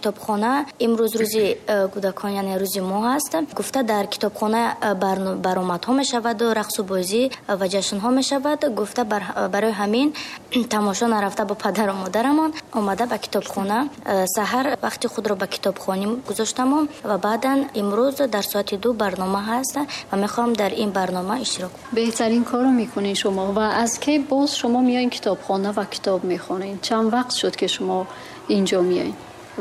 Китобхона имрӯз рӯзи кӯдакон, яъне рӯзи мо ҳаст. Гуфта, дар китобхона баромадҳо мешаваду рақсу бозӣ ва ҷашнҳо мешавад. Гуфта, барои ҳамин тамошо нарафта, бо падару модарамон омада ба китобхона, саҳар вақти худро ба китобхонӣ гузоштамон ва баъдан имрӯз дар соати 2 барнома ҳаст ва мехоҳам дар ин барнома иштирок кунам. Беҳтарин корро мекунед шумо. Ва аз кай боз шумо меоед китобхона ва китоб мехонед? Чанд вақт шуд, ки шумо инҷо меоед?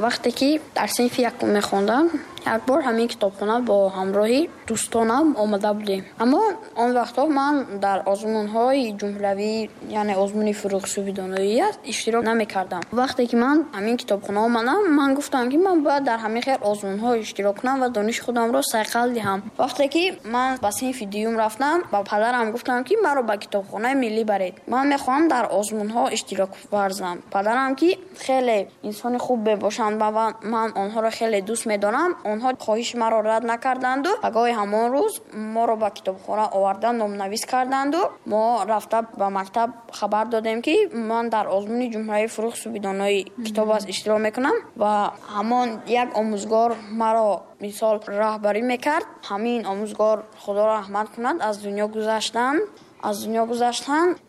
Вақте ки дар синфи якум мехондам, як бор ҳамин китобхона бо ҳамроҳи дӯстонам омада будем. Аммо он вақтҳо ман дар озмунҳои ҷумҳуравӣ, яъне озмуни Фурӯғи субҳи доноӣ аст, иштирок намекардам. Вақте ки ман ҳамин китобхона омадам, ман гуфтам, ки ман бояд дар ҳамин хел озмунҳо иштирок кунам ва дониши худамро сайқал диҳам. Вақте ки ман ба синфи дуюм рафтам, ба падарам гуфтам, ки маро ба китобхонаи миллӣ баред. Ман мехоҳам дар озмунҳо иштирок варзам. Падарам, ки хеле инсони хуб мебошанд ва ман онҳоро хеле дӯст медорам, онҳо хоҳиши маро рад накарданду пагоҳи ҳамон рӯз моро ба китобхона овардан, номнавис карданду мо рафта ба мактаб хабар додем, ки ман дар озмуни ҷумҳуравии Фурӯғи субҳи донои китоб аст иштирок мекунам. Ва ҳамон як омӯзгор маро мисол раҳбарӣ мекард. Ҳамин омӯзгор, Худо раҳмат кунад, аз дунё гузаштанд.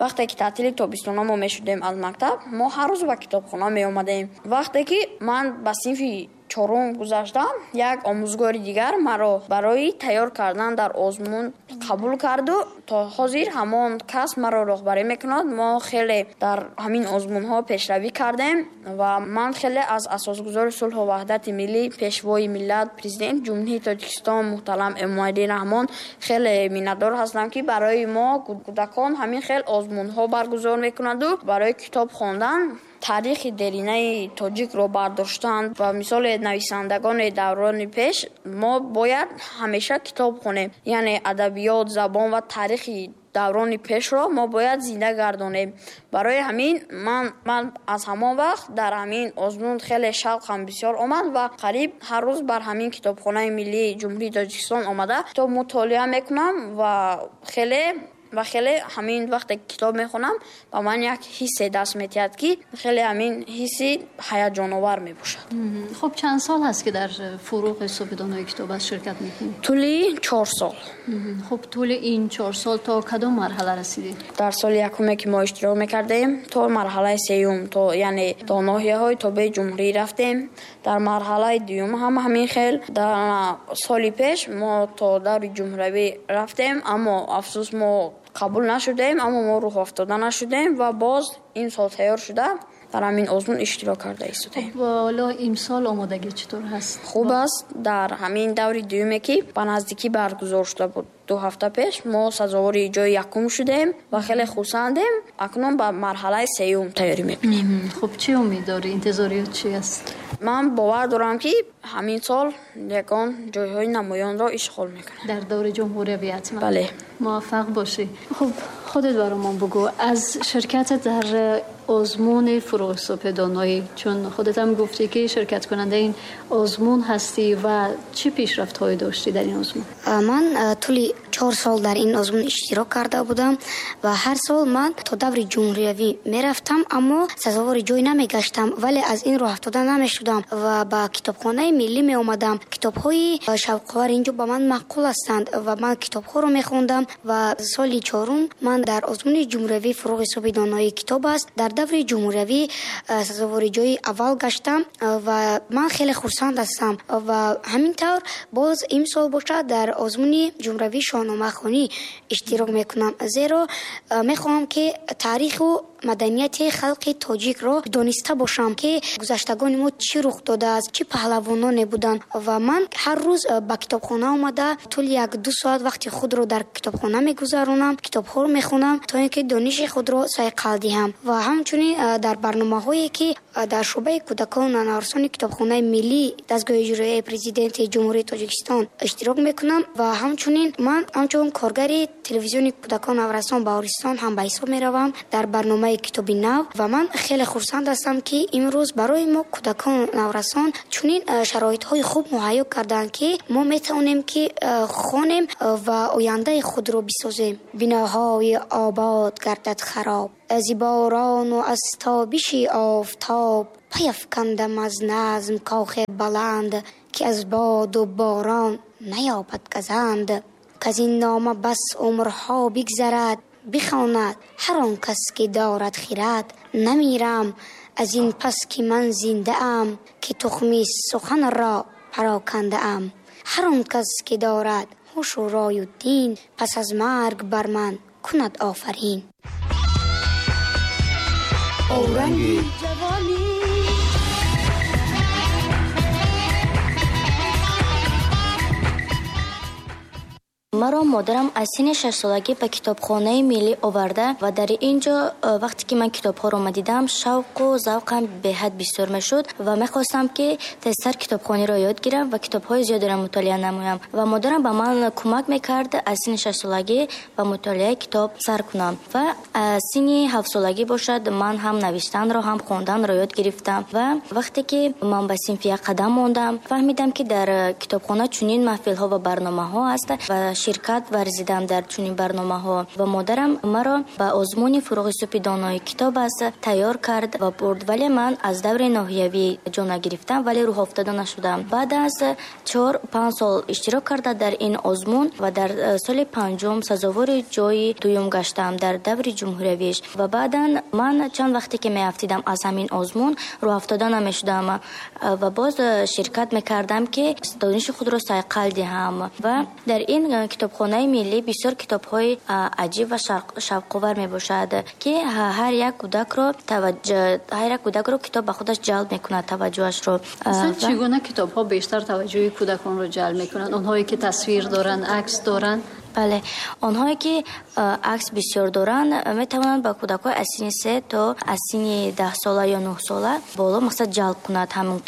Вақте ки таътили тобистона мо мешудем аз мактаб, мо ҳар рӯз ба китобхона меомадем. Вақте ки ман ба синфи чорум гузаштам, як омӯзгори дигар маро барои тайёр кардан дар озмун қабул карду то ҳозир ҳамон кас маро роҳбарӣ мекунад. Мо хеле дар ҳамин озмунҳо пешравӣ кардем ва ман хеле аз асосгузори сулҳу ваҳдати миллӣ, Пешвои миллат, Президенти Ҷумҳурии Тоҷикистон муҳтарам Эмомалӣ Раҳмон хеле миннатдор ҳастам, ки барои мо кӯдакон ҳамин хел озмунҳо баргузор мекунаду барои китоб хондан, таърихи деринаи тоҷикро бардоштан ва мисоли нависандагони даврони пеш мо бояд ҳамеша китоб хонем, яъне адабиёт, забон ва таърихи даврони пешро мо бояд зинда гардонем. Барои ҳамин ман аз ҳамон вақт дар ҳамин озмун хеле шавқам бисёр омад ва қариб ҳар рӯз бар ҳамин китобхонаи миллии Ҷумҳурии Тоҷикистон омада китоб мутолиа мекунам ва хеле ҳамин вақте китоб мехонам, ба ман як ҳиссе даст метиҳад, ки хеле ҳамин ҳисси ҳаяҷоновар мебошад. Хуб, чанд сол ҳаст, ки дар Фурӯғи субҳи донои китоб аст ширкат мекунед? Тӯли 4 сол. Хуб, тӯли ин 4 сол то кадом марҳала расидед? Дар соли якуме, ки мо иштирок мекардем, то марҳалаи сеюм, то яъне то ноҳияҳои тобеи ҷумҳурӣ рафтем. Дар марҳалаи дуюм ҳам ҳамин хел. Дар соли пеш мо то даври ҷумҳуравӣ рафтем, аммо афсӯс, мо қабул нашудем. Аммо мо рӯҳафтода нашудем ва боз ин сол тайёр шуда дар ҳамин озмун иштирок карда истодаем. Ҳоло имсол омодагӣ чӣ тавр ҳаст? Хуб аст. Дар ҳамин даври дуюме, ки ба наздикӣ баргузор шуда буд, 2 ҳафта пеш, мо сазовори ҷои якум шудем ва хеле хурсандем. Акнун ба марҳалаи сеюм тайёрӣ мекунем. Хуб, чӣ умед дорӣ, интизориёт чӣ аст? Ман бовар дорам, ки ҳамин сол ягон ҷойҳои намоёнро ишғол мекунам. Дар даври ҷумҳуриявӣ ҳатман. Бале. Муваффақ бошӣ. Хуб, худат баромон бугӯ аз ширкатат дар озмуни Фурӯғи субҳи доноӣ, чун худат ҳам гуфтӣ, ки ширкаткунандаи ин озмун ҳастӣ ва чӣ пешрафтҳое доштӣ дар ин озмун? Ман тӯли 4 сол дар ин озмун иштирок карда будам ва ҳар сол ман то даври ҷумҳуриявӣ мерафтам, аммо сазовори ҷой намегаштам, вале аз ин роҳафтода намешудам ва ба китобхонаи миллӣ меомадам. Китобҳои шавқовар инҷо ба ман маъқул ҳастанд ва ман китобҳоро мехондам. Ва соли чорум ман дар озмуни ҷумҳуриявии Фурӯғи субҳи доноии китоб аст дар даври ҷумҳуриявӣ сазовори ҷои аввал гаштам ва ман хеле хурсанд ҳастам. Ва ҳамин тавр боз имсол бошад, дар озмуни ҷумҳуриявии шоҳномахонӣ иштирок мекунам, зеро мехоҳам, ки таъриху маданияти халқи тоҷикро дониста бошам, ки гузаштагони мо чӣ рух додааст, чӣ паҳлавононе буданд. Ва ман ҳар рӯз ба китобхона омада, тӯли 1-ду соат вақти худро дар китобхона мегузаронам, китобҳоро мехонам, то ин ки дониши худро сайқал диҳам. Ва ҳамчунин дар барномаҳое, ки дар шӯъбаи кӯдакон ва наврасони китобхонаи миллии дастгоҳи иҷроияи Президенти Ҷумҳурии Тоҷикистон иштирок мекунам. Ва ҳамчунин ман ҳамчун коргари телевизиони кӯдакон наврасон Баҳористон ҳам ба ҳисоб меравам дар барномаи китоби нав. Ва ман хеле хурсанд ҳастам, ки имрӯз барои мо, кӯдакон наврасон, чунин шароитҳои хуб муҳайё карданд, ки мо метавонем, ки хонем ва ояндаи худро бисозем. Биноҳои обод гардад хароб аз борону аз тобиши офтоб. Пайафкандам аз назм кохи баланд, ки аз боду борон наёбад газанд. Каз ин нома бас умрҳо бигзарад, бихонад ҳар он кас ки дорад хирад. Намирам аз ин пас ки ман зиндаам, ки тухми суханро парокандаам. Ҳар он кас ки дорад ҳушу рою дин, пас аз марг бар ман кунад офарин. Оранги ҷавонӣ. Маро модарам аз синни 6-солагӣ ба китобхонаи миллӣ оварда ва дар ин ҷо вақте ки ман китобҳоро мадидам, шавқу завқам беҳад бисёр мешуд ва мехостам ки тезтар китобхониро ёд гирам ва китобҳои зиёдеро мутолиа намоям. Ва модарам ба ман кӯмак мекард аз синни 6-солагӣ ба мутолиаи китоб сар кунам. Ва аз синни 7-солагӣ бошад, ман ҳам навиштанро, ҳам хонданро ёд гирифтам. Ва вақте ки ман ба синфи 1 қадам мондам, фаҳмидам ки дар китобхона чунин маҳфилҳо ва барномаҳо аст ва ширкат варзидам дар чунин барномаҳо. Ва модарам маро ба озмуни фурӯғи субҳи донои китоб аст тайёр кард ва бурд, вале ман аз даври ноҳиявӣ ҷо нагирифтам, вале рӯҳофтода нашудам. Баъд аз 4-5 сол иштирок карда дар ин озмун ва дар соли 5 сазовори ҷои дуюм гаштам дар даври ҷумҳуриявиш. Ва баъдан ман чанд вақте ки меафтидам аз ҳамин озмун, рӯҳафтода намешудам ва боз ширкат мекардам ки дониши худро сайқал диҳам. Ва дар ин китобхонаи миллӣ бисёр китобҳои аҷиб ва шавқовар мебошад, ки ҳар як кӯдакро китоб ба худаш ҷалб мекунад, таваҷҷӯҳашро. Аслан чӣ гуна китобҳо бештар таваҷҷӯҳи кӯдаконро ҷалб мекунанд? Онҳое ки тасвир доранд, акс доранд? Бале, онҳое ки акс бисёр доранд, метавонанд ба кӯдакҳои аз синни 3 то аз синни 10 сола ё 9 сола боло мақсад ҷалб кунад ҳамин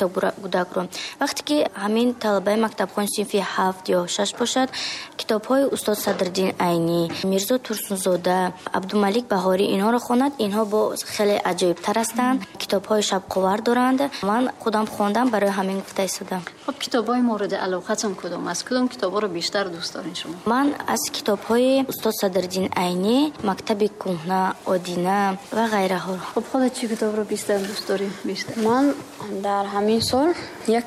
кӯдакро. Вақте ки ҳамин талабаи мактабхон синфи 7 ё 6 бошад, китобҳои устод Садриддин Айнӣ, Мирзо Турсунзода, Абдумалик Баҳорӣ инҳоро хонад, инҳо бо хеле аҷоибтар ҳастанд, китобҳои шавқовар доранд. Ман худам хондам, барои ҳамин гуфта истодам. Хуб, китобҳои мавриди алоқатон кудом аст? Кудом китобҳоро бештар дӯст доред шумо? Ман аз китобҳои устод Садриддин Айнӣ, мактаби кӯҳна, Одина ва ғайраҳо. Хуб, худат чӣ китобро бештар дӯст дорӣ? Бештар? Ман дар ҳамин сол як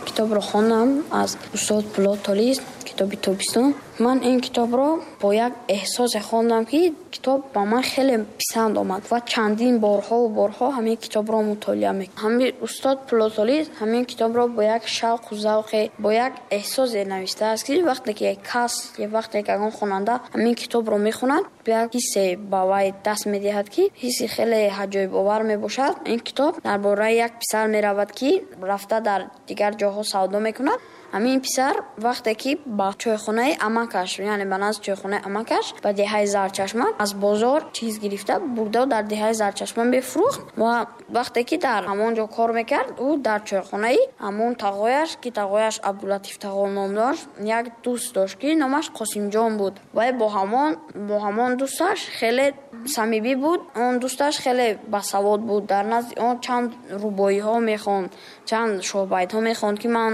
китобро хондам аз устод Пулод Толис, китоби Тобистон. Ман ин китобро бо як эҳсосе хондам, ки китоб ба ман хеле писанд омад ва чандин борҳову борҳо ҳамин китобро мутолиа мекардам. Ҳамин устод Пулод Толис ҳамин китобро бо як шавқу завқе, бо як эҳсосе навиштааст, ки вақте ки кас ё вақте ки ягон хонанда ҳамин китобро мехонад, як ҳиссе ба вай даст медиҳад, ки ҳисси хеле аҷоибовар мебошад. Ин китоб дар бораи як писар меравад, ки рафта дар дигар ҷоҳо савдо мекунад. Ҳамин писар вақте ки ба чойхонаи амакаш, яъне ба назди чойхонаи амакаш ба деҳаи Зарчашма аз бозор чиз гирифта бурда дар деҳаи Зарчашма мефурӯхт ва вақте ки дар ҳамон ҷо кор мекард, ӯ дар чойхонаи ҳамон тағояш, ки тағояш Абдулатиф тағо ном дошт, як дӯст дошт, ки номаш Қосимҷон буд. Ва бо ҳамон дӯсташ хеле самимӣ буд. Он дӯсташ хеле басавод буд. Дар назди он чанд рубоиҳо мехонд, чанд шоҳбайтҳо мехонд, ки ман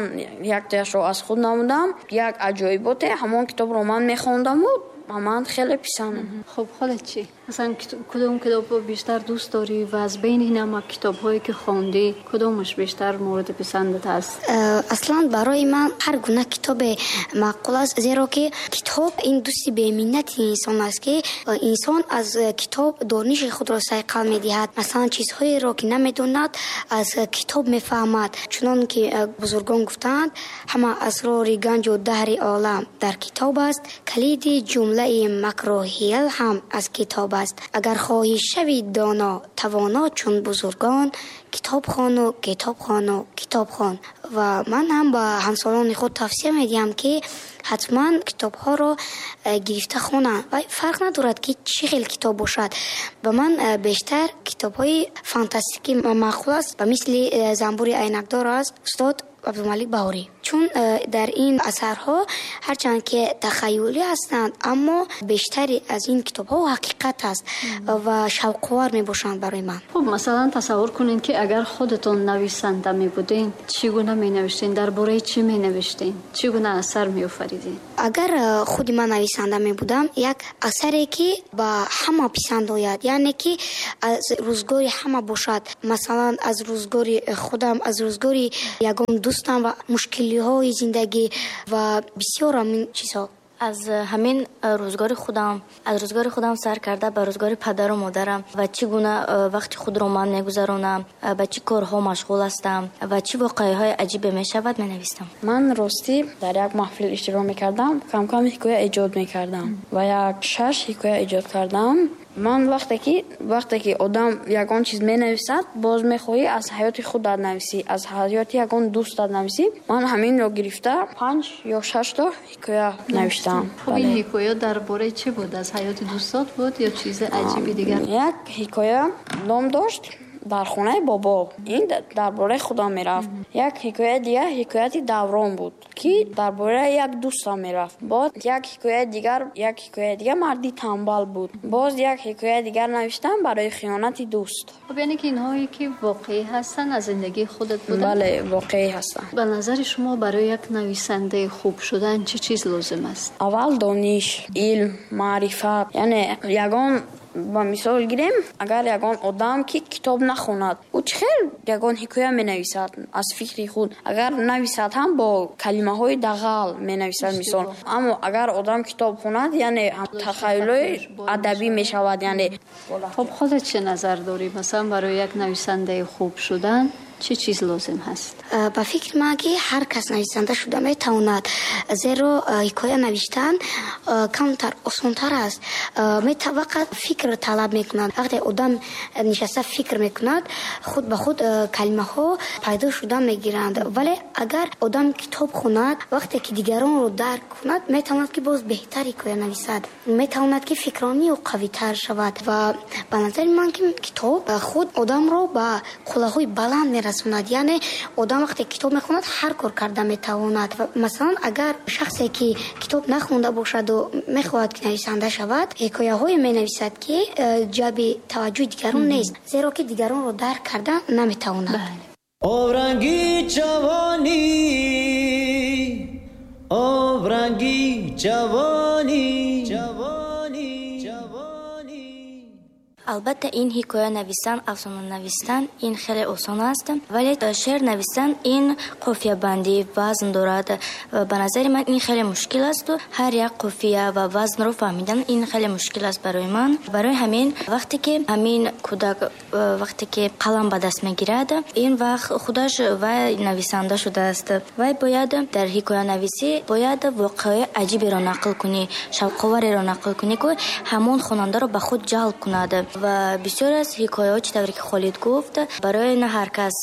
яктояшро аз худ намудам. Як аҷоиботе ҳамон китобро ман мехондаму ба ман хеле писанд. Хуб, худат чӣ? Масалан, кудом китобро бештар дӯст дорӣ ва аз байни ин ҳама китобҳое ки хондӣ, кудомаш бештар мавриди писандат аст? Аслан барои ман ҳар гуна китобе маъқул аст, зеро ки китоб ин дӯсти беминнати инсон аст, ки инсон аз китоб дониши худро сайқал медиҳад. Масалан, чизҳоеро ки намедонад, аз китоб мефаҳмад. Чунон ки бузургон гуфтаанд, ҳама асрори ганҷу даҳри олам дар китоб аст, калиди ҷумлаи макру ҳил ҳам аз китоб аст. Агар хоҳӣ шавӣ доно, тавоно чун бузургон, китоб хону, китоб хону, китоб хон. Ва ман ҳам ба ҳамсолони худ тавсия медиҳам, ки ҳатман китобҳоро гирифта хонанд. Ва фарқ надорад, ки чӣ хел китоб бошад. Ба ман бештар китобҳои фантастикӣ маъқул аст, ба мисли Занбури айнакдор аст устод Абдумалик Баҳорӣ. Чун дар ин асарҳо ҳарчанд ки тахайюлӣ ҳастанд, аммо бештари аз ин китобҳо ҳақиқат аст ва шавқовар мебошанд барои ман. Хуб, масалан тасаввур кунед, ки агар худатон нависанда мебудед, чӣ гуна менавиштед, дар бораи чӣ менавиштед, чӣ гуна асар меофаридед? Агар худи ман нависанда мебудам, як асаре ки ба ҳама писанд ояд, яъне ки аз рӯзгори ҳама бошад, масалан аз рӯзгори худам, аз рӯзгори ягон дӯстам ва мушкилиҳои зиндагӣ ва бисёр ҳамин чизҳо. Аз ҳамин рӯзгори худам, аз рӯзгори худам сар карда ба рӯзгори падару модарам ва чӣ гуна вақти худро ман мегузаронам, ба чӣ корҳо машғул ҳастам ва чӣ воқеаҳои аҷибе мешавад, менавистам. Ман ростӣ дар як маҳфил иштирок мекардам, кам-кам ҳикоя эҷод мекардам ва як 6 ҳикоя эҷод кардам. Ман вақте ки одам ягон чиз менависад, боз мехоҳӣ аз ҳаёти худат нависӣ, аз ҳаёти ягон дӯстат нависӣ. Ман ҳаминро гирифта 5 ё 6 то ҳикоя навиштам. Хуб, ин ҳикоя дар бораи чӣ буд? Аз ҳаёти дӯстот буд ё чизи аҷиби дигар? Як ҳикоя ном дошт дар хонаи бобо. Ин дар бораи худам мерафт. Як ҳикояи дигар ҳикояти даврон буд, ки дар бораи як дӯстам мерафт. Боз як ҳикояи дигар, як ҳикояи дигар марди танбал буд. Боз як ҳикояи дигар навиштам барои хиёнати дӯст. Хуб, яъне ки инҳое ки воқеӣ ҳастанд аз зиндагии худат буданд? Бале, воқеӣ ҳастанд. Ба назари шумо барои як нависандаи хуб шудан чӣ чиз лозим аст? Аввал дониш, илм, маърифат. Яъне ягон ба мисол гирем, агар ягон одам ки китоб нахонад, ӯ чӣ хел ягон ҳикоя менависад аз фикри худ? Агар нависад ҳам бо калимаҳои дағал менависад, мисол. Аммо агар одам китоб хонад, яъне тахайюлои адабӣ мешавад, яъне. Хуб, худат чӣ назар дорӣ? Масалан барои як нависандаи хуб шудан чӣ чиз лозим ҳаст? Ба фикри ман ки ҳар кас нависанда шуда метавонад, зеро ҳикоя навиштан камтар осонтар аст. Фақат фикр талаб мекунад. Вақте одам нишаста фикр мекунад, худ ба худ калимаҳо пайдо шуда мегиранд. Вале агар одам китоб хонад, вақте ки дигаронро дарк кунад, метавонад ки боз беҳтар ҳикоя нависад, метавонад ки фикронии ӯ қавитар шавад. Ва ба назари ман ки китоб худ одамро ба қуллаҳои баланд мерасонад. Яъне одам вақте китоб мехонад, ҳар кор карда метавонад. Масалан, агар шахсе ки китоб нахонда бошаду мехоҳад ки нависанда шавад, ҳикояҳое менависад ки ҷалби таваҷҷӯҳи дигарон нест, зеро ки дигаронро дарк карда наметавонад. Обранги ҷавонӣ, обранги ҷавонӣ, ҷавонӣ, ҷавонӣ. Албатта, ин ҳикоя навистан, афсона навистан ин хеле осон аст, вале шеър навистан ин қофиябандӣ, вазн дорад. Ба назари ман ин хеле мушкил аст. Ҳар як қофия ва вазнро фаҳмидан ин хеле мушкил аст барои ман. Барои ҳамин вақте ки ҳамин кӯдак вақте ки қалам ба даст мегирад, ин вақт худаш вай нависанда шудааст. Вай бояд дар ҳикоянависӣ бояд воқеаи аҷиберо нақл кунӣ, шавқовареро нақл кунӣ, ки ҳамон хонандаро ба худ ҷалб кунад. Ва бисёр аз ҳикояҳо, чӣ тавре ки Холид гуфт, барои на ҳар кас,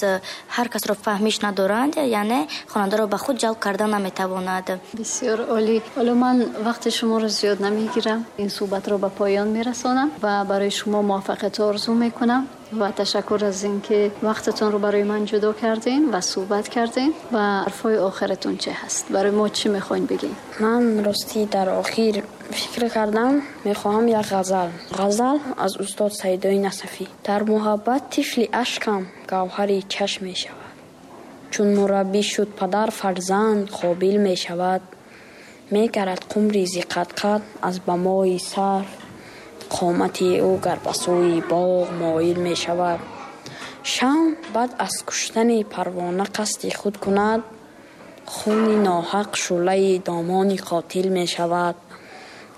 ҳар касро фаҳмиш надоранд, яъне хонандаро ба худ ҷалб карда наметавонад. Бисёр олӣ. Ҳоло ман вақти шуморо зиёд намегирам, ин суҳбатро ба поён мерасонам ва барои шумо муваффақият орзу мекунам ва ташаккур аз инки вақтатонро барои ман ҷудо кардин ва суҳбат кардин. Ва ҳарфҳои охиратон чӣ ҳаст? Барои мо чӣ мехоҳед бигин? Ман ростӣ дар охир фикр кардам, мехоҳам як ғазал. Ғазал аз устод Саидои Насафӣ. Дар муҳаббат тифли ашкам гавҳари чашм мешавад, чун мураббӣ шуд падар фарзанд қобил мешавад. Мегарад қумри зиқатқат аз бамои сар, қомати ӯ гар ба сӯи боғ моил мешавад. Шам баъд аз куштани парвона қасди худ кунад, хуни ноҳақ шӯълаи домони қотил мешавад.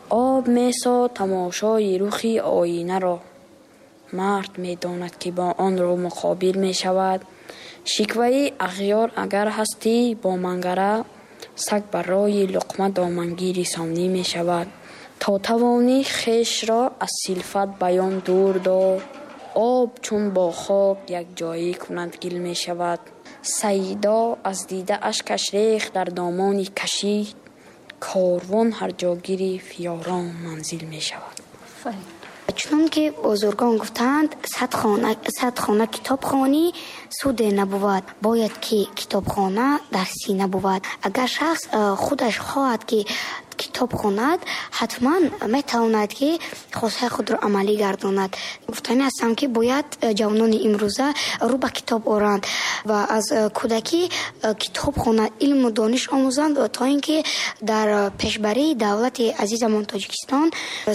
Об месо тамошои рухи оинаро, мард медонад ки бо он рӯ муқобил мешавад. Шикваи ағёр агар ҳастӣ бо мангара, саг барои луқма домангири сонӣ мешавад. То тавонӣ хешро аз силфат баён дур дор, об чун бо хок якҷоӣ кунад гил мешавад. Саидо аз дида ашкаш рехт дар домони кашид, корвон ҳар ҷо гирифт ёрон манзил мешавад. Офарин. Чунон ки бузургон гуфтаанд, 100 хона китобхонӣ суде набувад, бояд ки китобхона дар сина бувад. Агар шахс худаш хоҳад ки китоб хонад, ҳатман метавонад ки хостаи худро амалӣ гардонад. Гуфтанӣ ҳастам, ки бояд ҷавонони имрӯза рӯ ба китоб оранд ва аз кӯдакӣ китоб хонанд, илму дониш омӯзанд, то ин ки дар пешбарии давлати азизамон Тоҷикистон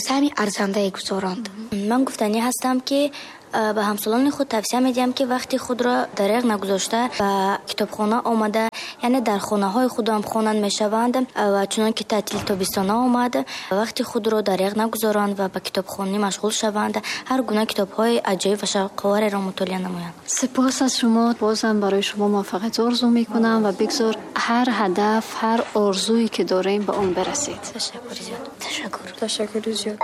саҳми арзандае гузоранд. Ман гуфтанӣ ҳастам, ки ба ҳамсолони худ тавсия медиҳам, ки вақти худро дареғ нагузошта ба китобхона омада, яъне дар хонаҳои худ ҳам хонанд мешаванд ва чунон ки таътили тобистона омад, вақти худро дареғ нагузоранд ва ба китобхонӣ машғул шаванд, ҳар гуна китобҳои аҷоиб ва шавқовареро мутолиа намоянд. Сипос аз шумо. Бозам барои шумо муваффақият орзу мекунам ва бигзор ҳар ҳадаф, ҳар орзуе ки дорем, ба он бирасед. Ташаккури зиёд. Ташаккур. Ташаккури зиёд.